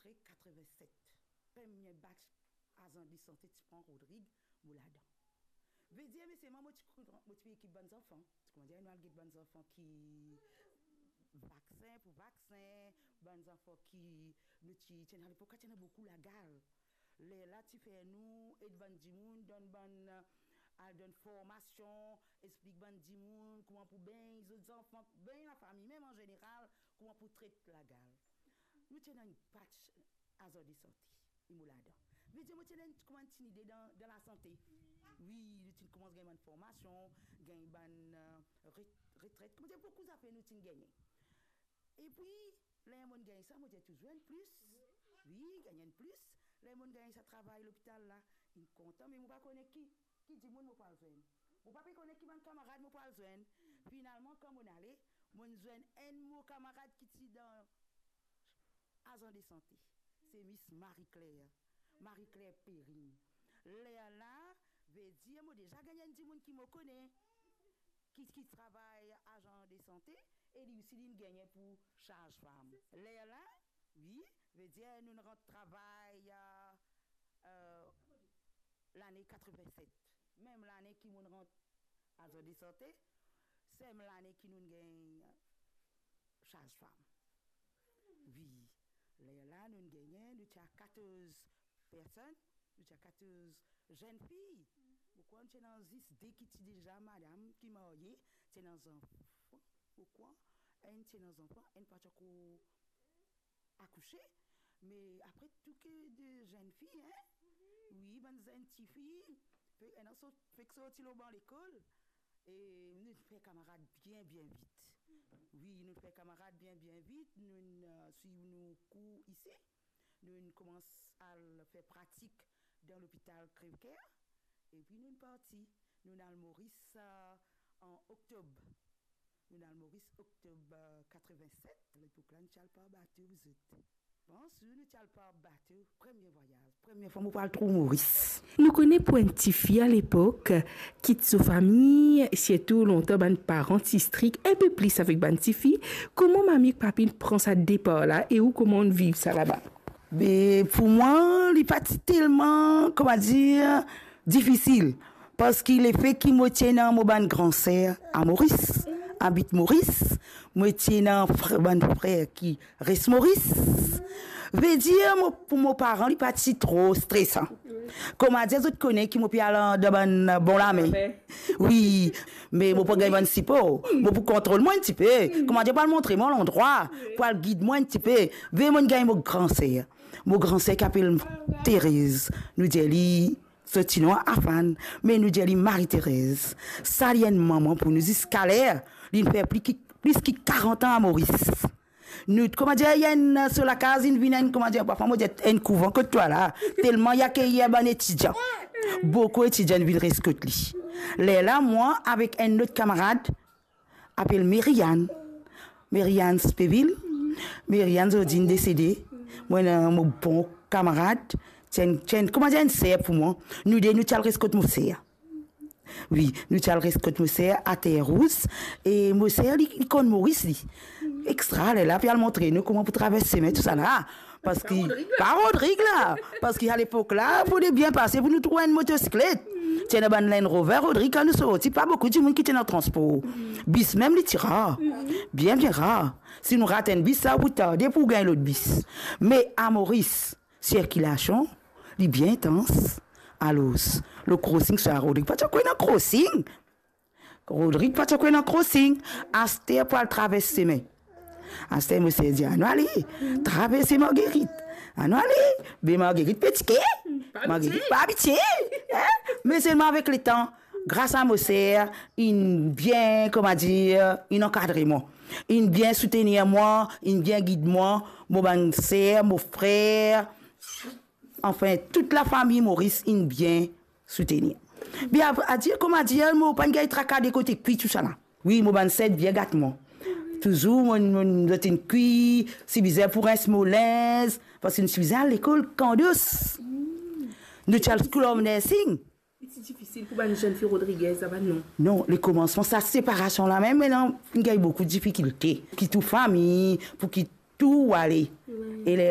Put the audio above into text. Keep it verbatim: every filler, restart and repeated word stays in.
Katrevin-set. Premie batch azan de sante ti pran Rodrig, mo ladan. Vedir, me selman mo ti, mo ti pe ekip bann zanfan. Koumadir, nou al get bann zanfan ki vaksin, pou vaksin, bann zanfan ki, nou ti, ti ena, lepok la ti ena boukou lagal. Lerla ti fer nou ed bann dimoun, donn bann, eh, al donn formasion, explik bann dimoun kouma pou begn zot zanfan, begn lafami mem an zeneral, kouma pou tret lagal. Nou ti ena enn batch azan de sante, e mo ladan. Vedir, mo ti ena enn, kouma enn ti lide dan, dan lasante. Wi, nou ti koumans gagn bann formasion, gagn bann, eh, ret-, retret, koumadir, boukou zafer nou ti gagne. Epi, ler mo'nn gagn sa, mo dir touzour enn plis. Wi, gagn enn plis. Ler mo'nn gagn sa travay lopital la, inn kontan, me mo pa kone ki, ki dimoun mo pou al zwenn. Mo pa pe kone ki bann kamarad mo pou al zwenn. Finalman, kan mo'nn ale, mo'nn zwenn enn mo kamarad ki ti dan azan de sante. Se Miss Marie-Claire. Marie-Claire Perrine. Lerla, vedir mo deza gagn enn dimoun ki mo kone, ki, ki travay azan de sante, e li osi li'nn gagne pou saz-fam. Lerla, wi, vedir nou'nn rant travay, eh, eh, lane katrevin-set. Mem lane ki mo'nn rant azan de sante, se mem lane ki nou'nn gagn saz-fam. Wi, lerla nou'nn gagne, nou ti a katorz personn, nou ti a katorz zenn fi. Mo krwar nou ti ena zis de ki ti deza madam, ki marye, ti ena zanfan, mo krwar, enn ti ena zanfan, enn pa ti ankor akouse, me apre tou ke de zenn fi, en? Wi, bann zenn tifi, fe, ena sort, fek sorti lor ban lekol, e nou fer kamarad bien, bien vit. Wi, nou fer kamarad bien, bien vit, nou, eh, swiv nou kour isi, nou koumans al fer pratik dan lopital Crèvecoeur, epi nou parti, nou al Moris, eh, an oktob. Nou al Moris oktob, eh, katrevin-set, lepok la nou ti al par bato, zot. Bonzour, nou ti al par bato, premie vwayaz, premie fwa mo pou al trouv Moris. Nou kone pou enn tifi alepok, kit so fami, sirtou lontan bann paran ti strik enn pe plis avek bann tifi, kouma mami ek papi pran sa depar la e ou kouma ou viv sa laba? Be, pou mwa, li pa ti telman, kouma dir, difisil. Parski lefe ki mo ti ena mo bann gran ser a Moris, abit Moris, mo ti ena fr-, bann frer ki res Moris. Vedir, mo, pou mo paran, li pa ti tro stresan. Kouma dir, zot kone ki mo pe al dan bann bon lame. Wi, me mo pou gagn bann sipor. Mo pou kontrol mwa enn tipe. Kouma dir, pou al montre mwa landrwa, pou al gid mwa enn tipe. Ve mo'nn gagn mo gran ser. Mo gran ser ki apel Terez. Nou dir li, so ti nom Afan, me nou dir li Marie-Thérèse. Sa li enn manman pou nou ziska ler, li'nn fer pli ki, plis ki karant an a Moris. Nou, kouma dir, ena enn, so lakaz, inn vinn enn, kouma dir, parfwa mo dir enn kouvan kot twa la, telman li akeyir bann etidian. Boukou etidian inn vinn res kot li. Lerla, mwa avek enn lot kamarad, apel Merianne. Merianne Speville. Merianne zordi inn desede. Mwa ena mo bon kamarad, ti enn, ti enn, kouma dir, enn ser pou mwa. Nou de, nou ti al res kot mo ser. Wi, nou ti al res kot mo ser a Terre Rousse. E mo ser, li, li konn Moris, li. Extra, lerla, pou al montre nou kouma pou travers sime, tousala. Parski, pa Rodrig la. Pa Rodrig la. Parski alepok la, pou li bien pase, pou nou trouv enn motosiklet. Ti ena bann Land Rover, Rodrig, kan nou sorti, pa boukou dimoun ki ti ena transpor. Bis mem, li ti rar. Bien, bien rar. Si nou rat enn bis, sa pou tarde pou gagn lot bis. Me a Moris, sirkilasion, li bien intans. Alor, le crossing, sa Rodrig pa ti ankor ena crossing. Rodrig pa ti ankor ena crossing. Aster pou al travers sime. Aster mo ser dir, anou ale, travers Marguerite. Anou ale, be Marguerite pe tike. Marguerite pa abitie. En? Me selman avek letan, gras a mo ser, inn bien, kouma dir, inn ankadre mwa. Inn bien soutenir mwa, inn bien gid mwa, mo bann ser, mo frer, anfin, tout lafami Moris inn bien soutenir. Be a, a dir, kouma dir, mo pa'nn gagn traka de kote kwi tousala. Wi, mo bann ser bien gat mwa. Touzour, mo, mo, zot inn kwi, si bizin pou rins mo linz, parski nou ti bizin al lekol kan dous. Nou ti al School of Nursing. Li ti difisil pou bann zenn fi Rodriguez, sa bann non? Non, lekomansman, sa separasion la mem, me la, finn gagn boukou difikilte. Kit ou fami, pou kit tou ale. Wi. E le